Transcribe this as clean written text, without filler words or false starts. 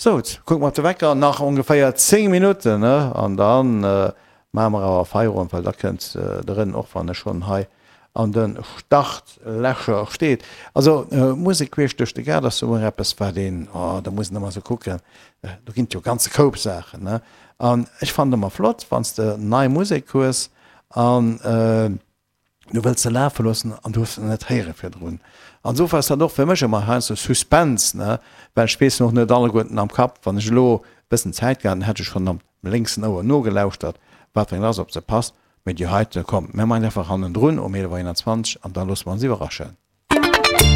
Sou, kucke mer op de Wecker, nach ongeféier 10 Minutten, ne? An da maache mer awer Feierowend, well da kënnt de Ren, och wann e schonn hei an de Startlächer steet. Also, Musek queesch duerch de Gaart ass jo ëmmer eppes, wat een, oh, da muss een ëmmer esou kucken, do ginn et jo e ganze Koup Saachen, ne? An ech fannen et ëmmer flott, wann s de nei Musek hues an, Du wëlls se lafe loossen an du hues se net héiere virdrun. An esou ass dat och fir mech ëmmer heiansdo Suspense, ne, well ech weess och net alleguerten am Kapp. Wann ech elo e bëssen Zäit gehat hätt, hätt ech schonn am lénksen Ouer nogelauschtert, wat fir eng ass, ob se passt. Mee déi heite, komm, mir maachen einfach hannendrun um 11 Auer 21 an da loosse mer ons iwwerraschen.